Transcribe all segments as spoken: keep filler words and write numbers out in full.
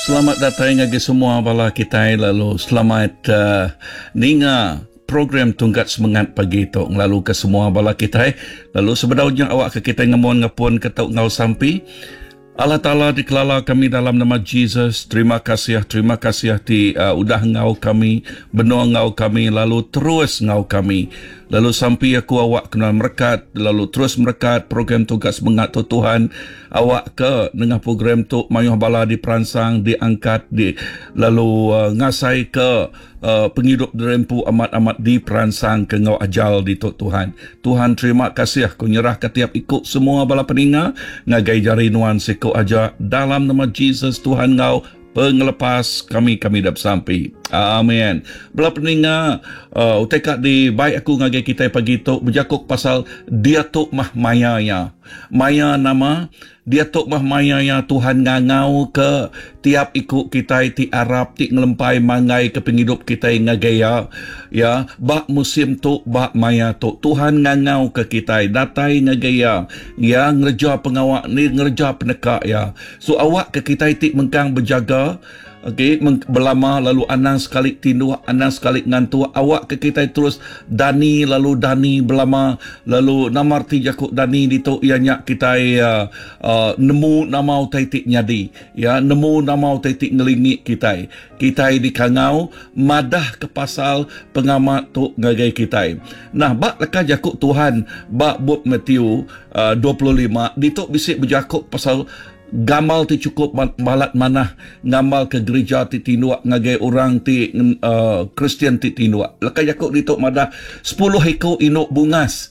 Selamat datai ngagai semua bala kitai lalu selamat uh, ninga program Tungkat Semengat pagi tu ngelalu ke semua bala kitai. Lalu sebedaunya awak ke kitai ngemon ngepun ke tau ngau sampi. Allah Ta'ala dikelala kami dalam nama Jesus. Terima kasih, terima kasih ti uh, udah ngau kami, benua ngau kami, lalu terus ngau kami. Lalu sampi aku awak kena merekat, lalu terus merekat program Tungkat Semengat tu Tuhan. Awak ke nengah program tu mayuh bala diperansang, diangkat, di, lalu uh, ngasai ke uh, penghidup derempu amat-amat diperansang ke ngau ajal di tu Tuhan. Tuhan terima kasih aku nyerah ke tiap ikut semua bala peninga ngagai jari nuan siko aja dalam nama Jesus Tuhan ngau pengelepas kami kami dah sampai. Amin. Bala peninga uh, utai ka di baik aku ngagai kita pagi tu berjakuk pasal dia tu mah maya ya. Maya nama dia tu mah maya ya Tuhan ngangau ke tiap ikut kita ti Arab ti ngelempai mangai ke penghidup kita ngagai ya. Ya, bak musim tu bak maya tu Tuhan ngangau ke kita datai ngagai ya. Ya ngerja pengawak ni ngerja peneka ya. So awak ke kita ti mengkang berjaga. Okey, belama lalu anang sekali tinduh, anang sekali ngantuk, awak ke kita terus dani lalu dani belama lalu nama arti jakuk dani ditu ia nyak kita uh, uh, nemu nama utai ti nyadi ya, nemu nama utai ti ngelingi kita. Kita dikangau madah ke pasal pengamat tu ngagai kita. Nah, bak leka jakuk Tuhan bak bab Matthew uh, dua puluh lima ditu bisik berjakuk pasal gamal ti cukup balat manah ngamal ke gereja ti tinduk ngagai orang ti uh, Kristian ti tinduk. Leka jakuk ditu madah sepuluh iko inuk bungas.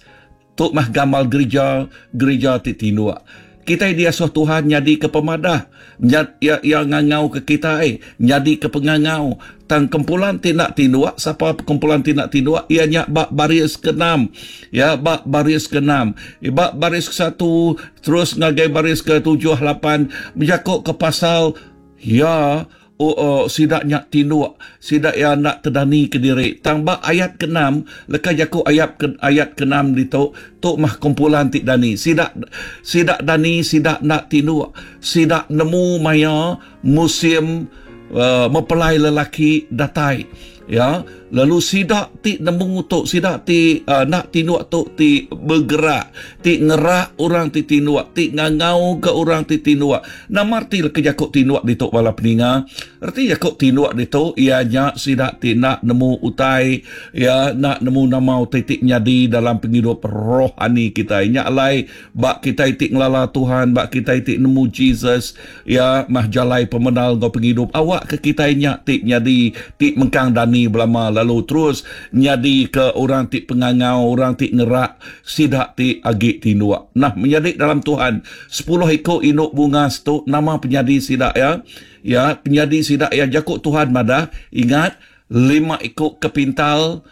Tu mah gamal gereja gereja ti tinduk. Kita diasuh Tuhan nyadi ke pemadah, nyad, ya, ya ngangau ke kita eh, nyadi ke pengangau. Tang kumpulan ti nak tinduk, siapa kumpulan ti nak tinduk? Ia nyak bak baris keenam. Ya, bak baris keenam. Bak baris ke satu, terus ngagai baris ke tujuh, lapan, berjakuk ke pasal ya oh, oh sidak nyak tinduk, sidak ya nak terdani ke diri. Tang bak ayat keenam, leka jakuk ayat ke, ayat keenam ditu, tu mah kumpulan ti dani. Sidak sidak dani, sidak nak tinduk, sidak nemu maya musim uh, mempelai lelaki datai. Ya, lalu sidak ti nemu tu, sidak ti uh, nak tinduk tu ti bergerak, ti ngerak orang ti tinduk, ti ngangau ke orang ti tinduk. Nama arti ke jakuk tinduk ditu bala peninga? Arti jakuk tinduk ditu ia nya sidak ti nak nemu utai, ya nak nemu nama utai ti nyadi dalam penghidup rohani kita. Nya alai bak kita ti ngelala Tuhan, bak kita ti nemu Jesus, ya mah jalai pemenal ngau penghidup awak ke kita nya ti nyadi ti mengkang dani belama lalu terus nyadi ke orang ti pengangau, orang ti ngerak, sidak ti agi tinduk. Nah, menjadi dalam Tuhan sepuluh iko induk bungas tu nama penyadi sidak ya. Ya, penyadi sidak ya jakuk Tuhan madah, ingat lima iko kepintal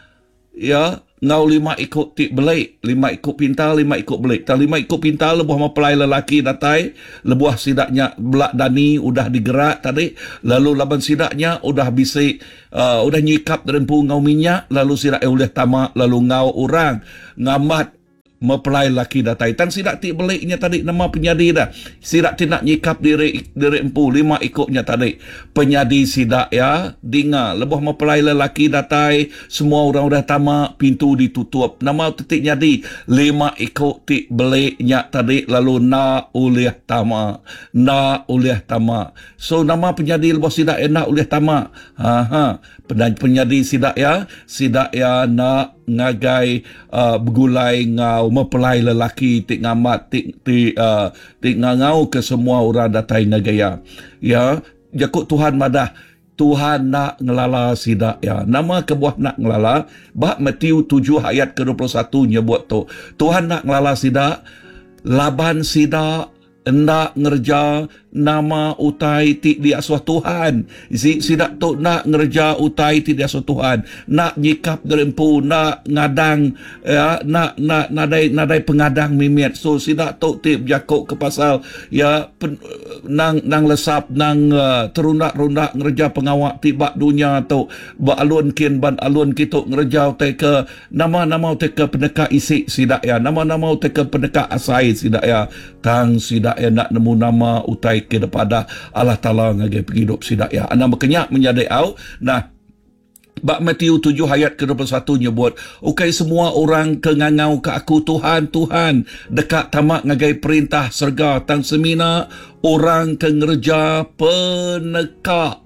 ya, ngau lima iko ti belik, lima iko pintal, lima iko belik. Tang lima iko pintal lebuh mempelai lelaki datai, lebuh sidaknya belak dani udah digerak tadi, lalu laban sidaknya udah bisik uh, udah nyikap derempu ngau minyak, lalu sidak ulih tamak lalu ngau orang ngamat mempelai lelaki datai. Tang sidak ti beliknya tadi nama penyadi dah. Sidak ti nak nyikap diri diri empu lima ikutnya tadi. Penyadi sidak ya dinga lebuh mempelai lelaki datai, semua orang udah tamak, pintu ditutup. Nama titik nyadi lima ikut ti beliknya tadi lalu na ulih tamak, na ulih tamak. So nama penyadi lebuh sidak ya nak ulih tamak. Ha ha. Penyadi sidak ya, sidak ya nak ngagai uh, bergulai ngau mempelai lelaki ti ngamat ti ti uh, ti ngangau ke semua orang datai ngagai ya. Ya, jakuk Tuhan madah Tuhan nak ngelala sidak ya. Nama kebuah nak ngelala bab Matthew tujuh ayat ke dua puluh satu nyebut tu. Tuhan nak ngelala sidak laban sidak hendak ngerja nama utai ti diasuh Tuhan. Si sidak tu nak ngerja utai ti diasuh Tuhan, nak nyikap derempu, nak ngadang ya, nak nak nadai nadai pengadang mimiat. So sidak tu ti berjakuk ke pasal ya pen, nang nang lesap nang uh, terundak-rundak ngerja pengawak ti bak dunia tu, bak alun kin ban alun kitu ngerja utai ke nama-nama utai ke peneka isi sidak ya, nama-nama utai ke peneka asai sidak ya. Tang sidak sidak ya nak nemu nama utai ke depada Allah Taala ngagai penghidup sidak ya. Anang berkenyak menjadi au. Nah, bak Matthew tujuh ayat ke dua puluh satu nyebut, ukai semua orang ke ngangau ke aku Tuhan, Tuhan, dekat tamak ngagai perintah serga, tang semina orang ke ngerja peneka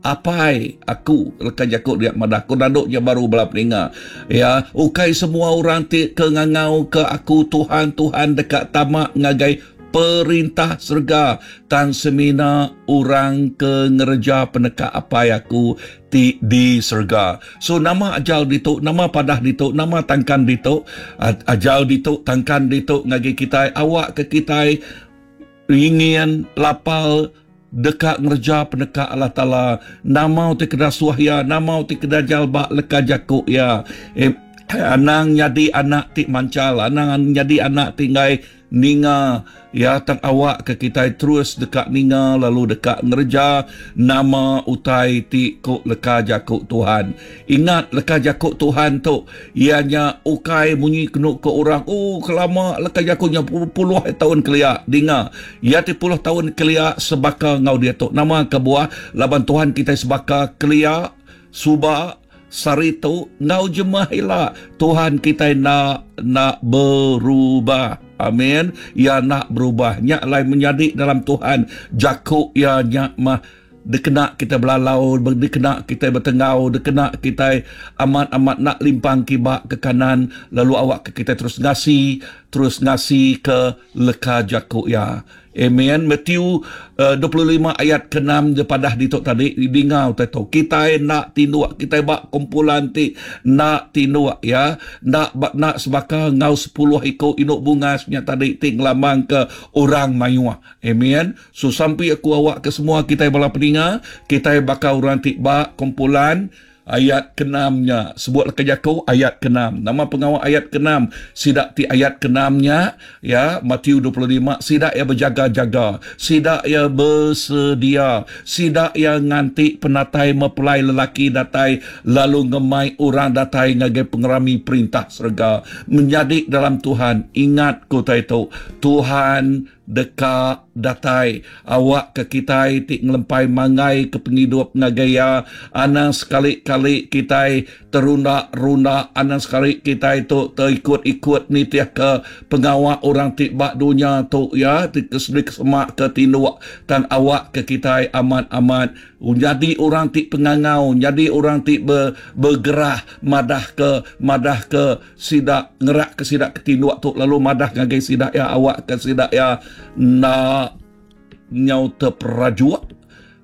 apai aku. Lekan jakuk dia madah aku danduknya baru bala peninga. Ya, ukai semua orang ti ke ngangau ke aku Tuhan, Tuhan, dekat tamak ngagai perintah serga, tang semina orang ke ngerja peneka apai aku ti di serga. So nama ajal ditu, nama padah ditu, nama tangkan ditu, ajal ditu, tangkan ditu ngagi kita, awak ke kita ingin lapal dekat ngerja peneka Allah Taala. Nama ti kena suah ya, nama ti kena jalba leka jakuk ya. Eh, anang jadi anak ti mancal, anang jadi anak ti ngai ninga ya, tang awak ke kita terus dekat ninga lalu dekat ngerja nama utai ti ko leka jakuk Tuhan. Ingat leka jakuk Tuhan tu ianya ukai munyi kenu ke orang, oh kelama leka jakuknya puluh tahun kelia dinga. Ya ti puluh tahun kelia sebaka ngau dia tu. Nama kebuah laban Tuhan kita sebaka kelia suba saritu ngau jemah ila. Tuhan kita nak nak berubah. Amin. Ya nak berubah. Nyak lai menjadi dalam Tuhan. Jakuk ya nyak mah dikena kita belalau, dikena kita bertengau, dikena kita amat-amat nak limpang kibak ke kanan, lalu awak ke kita terus ngasi, terus ngasi ke leka jakuk ya. Amen. Matthew uh, dua puluh lima ayat ke enam je padah ditok tadi dingau teto. Kita nak tinduk, kita bak kumpulan ti nak tinduk ya, nak bak nak sebaka ngau sepuluh iko induk bunga nya tadi ti ngelamang ke orang mayuah. Amen. So sampai aku awak ke semua kita bala peninga, kita bakal orang ti bak kumpulan ayat keenamnya. Sebut kerjaku ayat keenam. Nama pengawal ayat keenam. Sidak ti ayat keenamnya ya, Matius dua puluh lima, sidak ya berjaga-jaga, sidak ya bersedia, sidak ya nganti penatai mempelai lelaki datai lalu ngemai orang datai ngagai pengerami perintah serga. Menjadi dalam Tuhan, ingat kota itu, Tuhan deka datai awak ke kitai ti ngelempai mangai ke penghidup ngagaya. Anang sekali-kali kitai terunda-runda, anang sekali kitai tu terikut-ikut nitiah ke pengawak orang ti bak dunia tu ya, ti kesedik semak ke tinduk tan awak ke kitai amat-amat jadi orang ti pengangau, jadi orang ti ber, bergerah madah ke madah ke sidak ngerak ke sidak ke tinduk tu lalu madah ngagai sidak ya, awak ke sidak ya nak nyau terperajuk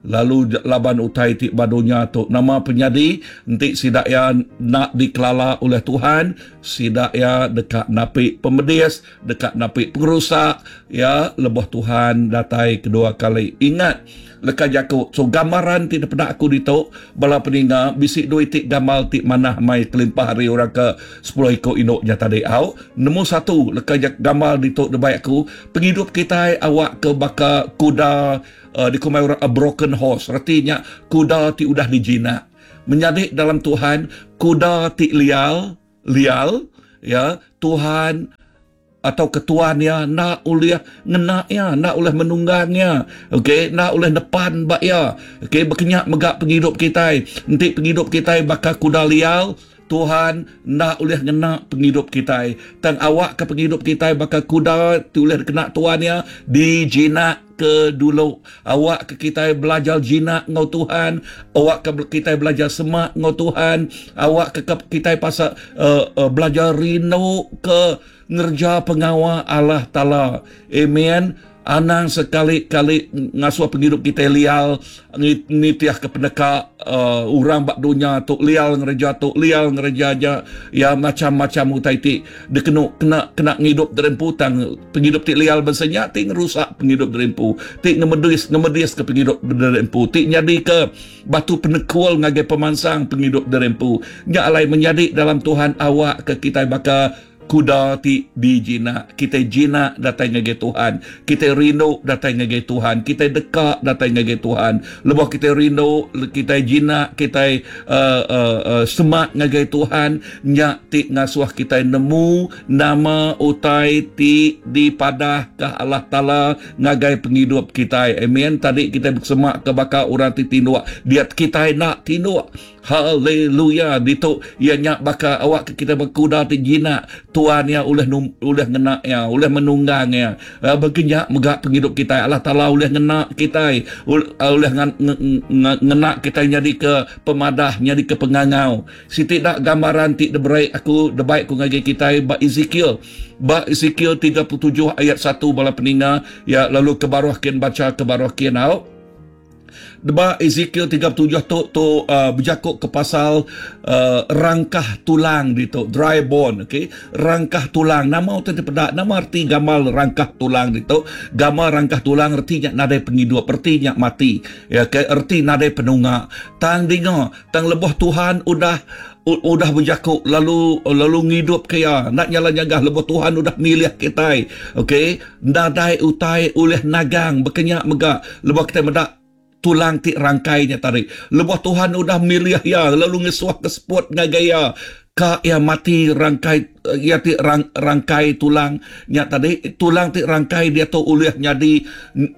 lalu laban utai ti badunya tu. Nama penyadi enti sidak ya nak dikelala oleh Tuhan, sidak ya dekat napi pemedis, dekat napi pengerusak ya, lebah Tuhan datai kedua kali. Ingat leka jaku. So gambaran ti pernah aku ditu bala peninga bisik dua itik gamal ti manah mai kelimpah hari orang ke sepuluh ikut induknya tadi au. Nemu satu leka jak gamal ditu debai aku, penghidup kita awak ke baka kuda uh, dikumai orang a broken horse, artinya kuda ti udah dijinak. Menjadi dalam Tuhan kuda ti lial lial ya, Tuhan atau ketuannya nak oleh ngena ya, nak oleh menunggangnya, okey, nak oleh depan bak ya, okey, berkenyak megak penghidup kita. Enti penghidup kita bakal kuda lial, Tuhan nak oleh ngena penghidup kita. Tang awak ke penghidup kita bakal kuda tu oleh kena tuannya dijinak ke dulu. Awak ke kita belajar jinak ngau Tuhan, awak ke kita belajar semak ngau Tuhan, awak ke kita pasal uh, uh, belajar rindu ke ngerja pengawal Allah Taala. Amen. Anang sekali-kali ngasuh penghidup kita lial nitiah ke peneka uh, orang bak dunia tu lial ngerja tu lial ngerja aja ya macam-macam utai ti dikenu kena kena ngidup derempu tang penghidup ti lial bensenya ti ngerusak penghidup derempu ti ngemedis ngemedis ke penghidup derempu ti nyadi ke batu penekul ngagai pemansang penghidup derempu. Nya alai menjadi dalam Tuhan awak ke kita baka kuda ti dijina. Kita jina datai ngagai Tuhan. Kita rindu datai ngagai Tuhan. Kita deka datai ngagai Tuhan. Lebuh kita rindu, kita jina, kita uh, uh, uh, semak ngagai Tuhan, nyak ti ngasuh kita nemu nama utai ti dipadah ke Allah Taala ngagai penghidup kita. Amen. Tadi kita bersemak ke bakal orang ti tinduk. Dia kita nak tinduk. Haleluya. Ditu ia nyak baka awak kita berkuda ti jinak Tuhan ya ulih ulih ngena ya ulih menunggang ya. Berkenyak megak penghidup kita. Allah Taala ulih ngena kita, ulih ngena kita jadi ke pemadah, jadi ke pengangau. Siti dak gambaran ti diberi aku debaik ku ngagai kita ba Ezekiel. Ba Ezekiel tiga puluh tujuh ayat satu bala peninga ya, lalu ke baruh kian baca ke baruh kian au. Deba Ezekiel tiga puluh tujuh tu tu uh, berjakuk ke pasal uh, rangkah tulang ditu, dry bone, okey. Rangkah tulang, nama utai dipedak, nama arti gamal rangkah tulang ditu. Gamal rangkah tulang artinya nadai penghidup, artinya mati. Ya, okay? Erti nadai penunga. Tang dinga, tang lebuh Tuhan udah udah berjakuk lalu lalu ngidup ke ya, nak nyala nyagah lebuh Tuhan udah milih kita. Okey, nadai utai ulih nagang berkenyak mega lebuh kita medak tulang ti rangkainya tadi. Lebuh Tuhan udah milih ya, lalu ngesuah ke spot ngagai ya. Ka ya mati rangkai ya ti rang, rangkai tulang nya tadi, tulang ti rangkai dia tu ulih jadi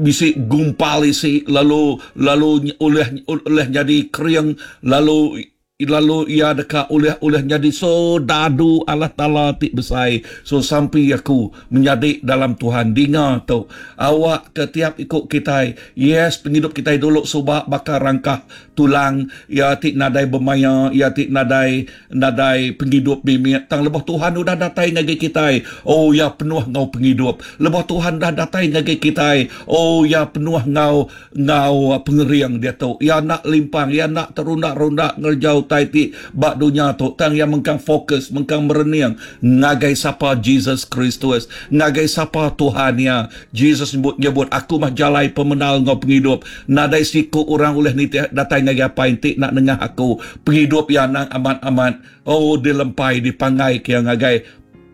bisi gumpal isi, lalu lalu ulih ulih jadi kering, lalu lalu ia deka ulih-ulih jadi sodadu Allah Taala ti besai. So sampai aku menjadi dalam Tuhan dinga tu awak ke tiap ikut kita. Yes, penghidup kita dulu subak bakar rangkah tulang ya ti nadai bermaya, ya ti nadai nadai penghidup bimit. Tang lebuh Tuhan udah datai ngagai kita, oh ya penuh ngau penghidup. Lebuh Tuhan dah datai ngagai kita, oh ya penuh ngau ngau pengeriang dia tu. Ya nak limpang, ya nak terundak-rundak ngerjau ti bak dunia tu. Tang yang mengkang fokus, mengkang merening ngagai sapa Jesus Kristus, ngagai sapa Tuhan ya. Jesus nyebut, nyebut aku mah jalai pemenal ngau penghidup. Nadai siku orang oleh ni datai ngagai apa inti nak nengah aku. Penghidup ya nang amat-amat oh dilempai dipangai ke ngagai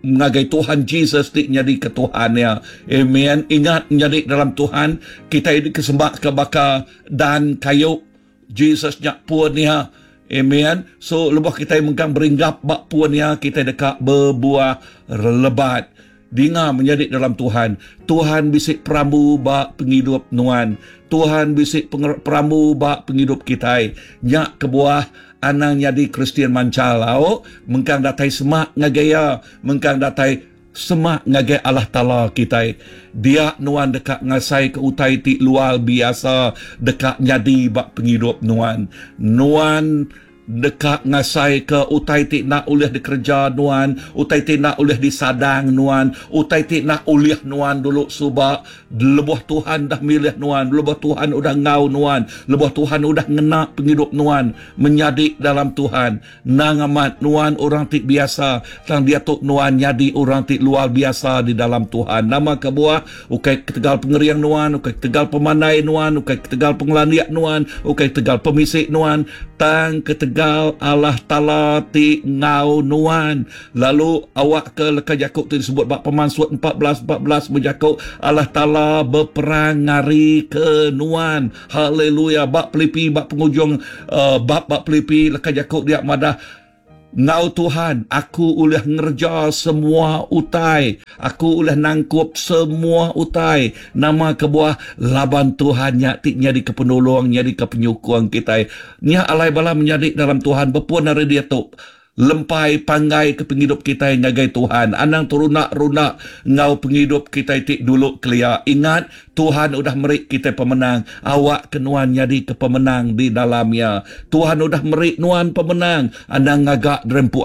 ngagai Tuhan Jesus ti nyadi ke Tuhan ya. Amen. Ingat nyadi dalam Tuhan kita ini kesembah ke baka dan kayu Jesus nyak pun ya. Amen. So lebuh kita mengkang beringgap bak puan ya, kita dekat berbuah lebat. Dinga menjadi dalam Tuhan. Tuhan bisik perambu bak penghidup nuan. Tuhan bisik perambu bak penghidup kita. Nyak kebuah anang jadi Kristian mancalau, mengkang datai semak ngagaya, mengkang datai semak ngagai Allah Taala kita. Dia nuan dekat ngasai ke utai ti luar biasa dekat jadi bak penghidup nuan. Nuan dekat ngasai ke utai ti nak ulih dikerja nuan, utai ti nak ulih disadang nuan, utai ti nak ulih nuan dulu subak. Lebuh Tuhan dah milih nuan, lebuh Tuhan udah ngau nuan, lebuh Tuhan udah ngena penghidup nuan, menjadi dalam Tuhan. Nang amat nuan orang ti biasa, tang dia tu nuan jadi orang ti luar biasa di dalam Tuhan. Nama kebuah ukai ketegal pengeriang nuan, ukai ketegal pemandai nuan, ukai ketegal pengelandiak nuan, ukai ketegal pemisik nuan, tang ketegal Allah Taala ti ngau nuan. Lalu awak ke leka Jakub tu disebut bab Pemansut empat belas empat belas berjakub Allah Taala berperang ngari ke nuan. Haleluya. Bab Filipi bab penghujung uh, bab bab Filipi leka Jakub dia madah ngau Tuhan aku ulih ngerja semua utai, aku ulih nangkup semua utai. Nama kebuah laban Tuhan nyak ti nyadi ke penolong, nyadi ke penyukung kita. Nya alai bala menyadi dalam Tuhan berpun hari dia tu lempai panggai ke penghidup kita ngagai Tuhan. Anang terunak-runak ngau penghidup kita ti dulu kelia. Ingat Tuhan udah merik kita pemenang. Awak kenuan jadi ke pemenang di dalamnya. Tuhan udah merik nuan pemenang. Anang ngagak derempu